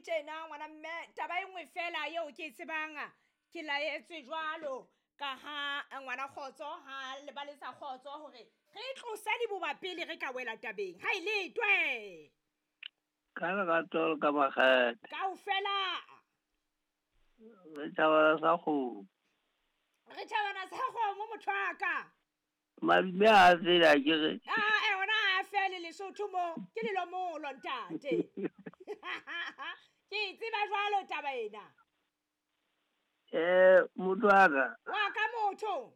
tjena ngwana mme, taba e nngwe fela eo ke e tsebang, ke laetswe jwalo ka ha ngwana kgotso ha le ba letsa kgotso hore re tlose diboba pele re ka wela tabeng. Ha e letwe. Ka lerato le ka makgethe. Kaofela. Re tjhabana sa kgomo. Re tjhabana sa kgomo motho wa ka. Madume ha a fele a ke re. Ah, eh, ona ha a fele Lesotho mo. Ke lelomolo ntate. Ke e tseba jwalo taba ena. Eh, motho wa ka. Wa ka motho.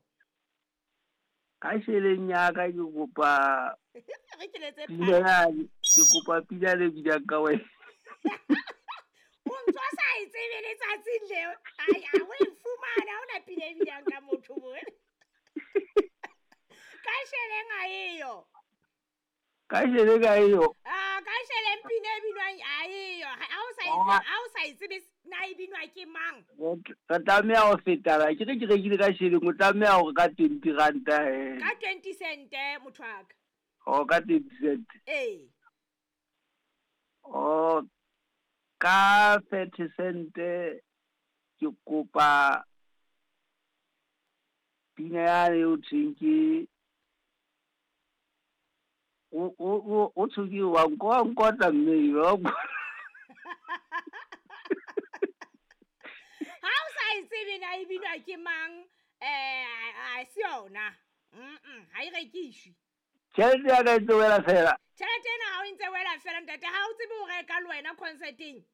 Ka sheleng ya ka ke kopa Re ke letse pina ya ke kopa pina le binang ka wena. O ntso sa e tsebe letsatsing leo. Ai, a o e fumana ha ona pina e binang ka motho bo. Ka sheleng ha eyo. Ka sheleng ha eyo. Ah, ka sheleng pina e binwang ha eyo. Ha o sa e tsebe, ha o sa e tsebe na e binwa ke mang? Re tlameha ho fetana. Ke re ke rekile ka sheleng, o tlameha hore ka 20 ranta he. Ka 20 cent motho wa ka. Oh, ka 20 cent. Ee. Oh, ka 30 cent ke kopa pina yane eo thweng ke o o o o thwe ke wa nko wa nkotla mme wa nkotla. Ha o sa e tsebe na e binwa ke mang, eh ha se yona. Mm, ha e rekishwe. Tjhelete ya ka e ntse wela fela. Tjhelete ena ha o ntse wela fela ntate, ha o tsebe ho reka le wena concerteng.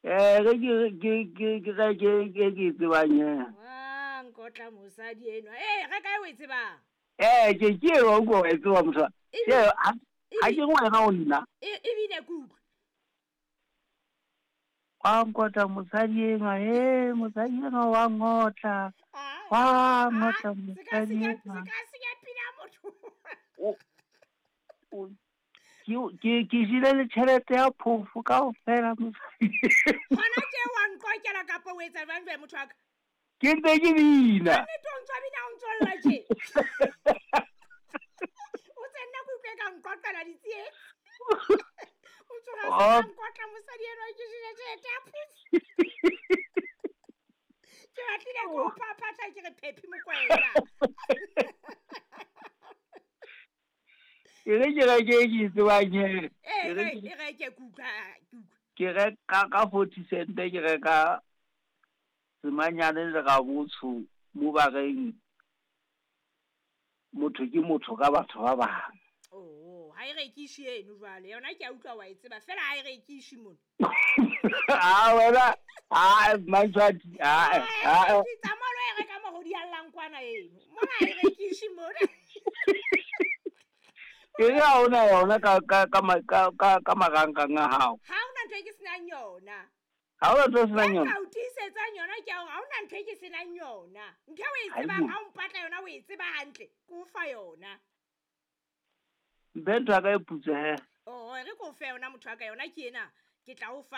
Eh, re ke ke ke ke reke ke ke e tsebang he. Ah, nkotla mosadi enwa. Eh, reka e o e tsebang. Eh, ke ke eo wa utlwa wa e tseba motho. Ke ha ha ke ngwana o nna. E ebile ke utlwe. Wa nkotla mosadi enwa, he mosadi enwa wa ngotla. Wa ngotla mosadi enwa. Se ka senya pina motho. Ke ke jele le tjhelete ya phofo kaofela mosadi. Hona tje wa nqokela kapa o etsa jwang jwale motho wa ka? Ke ntse ke bina. Kannete o ntso bina o ntso lla tje. O tse nna ke utlwe ka nqoqela ditsietsi. O tsoga se ka nkotla mosadi enwa ke jele tjhelete ya phofo. Ke batlile ke o phaphatha ke re Phephi Mokoena. E re ke reke e ke e tsebang he. E reke ke utlwa ke utlwa. Ke reka ka 40 cent ke reka semanyane le rabotsho mo ba reng motho ke motho ka batho ba bang. Oh, ha e rekishe eno jwale. Yona ke a utlwa wa e tseba fela ha e rekishe mona. Ah wena, ah Mantshwati, ah ah. Ke tsamaya lo e reka mo go diallang kwana eno. Mona ha e rekishe mona. Ke re ha ona yona ka ka ka ka ka ka marangrang a hao. Ha ona ntho e ke senang yona. Ha ona ntho e senang yona. Ka o tiisetsang yona ke hore ha ona ntho e ke senang yona. Ntho e o e tsebang ha o mpatla yona o e tseba hantle, ke o fa yona. Mphe ntho ya ka e putswe he. Oh, re ko fe yona motho wa ka yona ke ena. Ke tla o fa.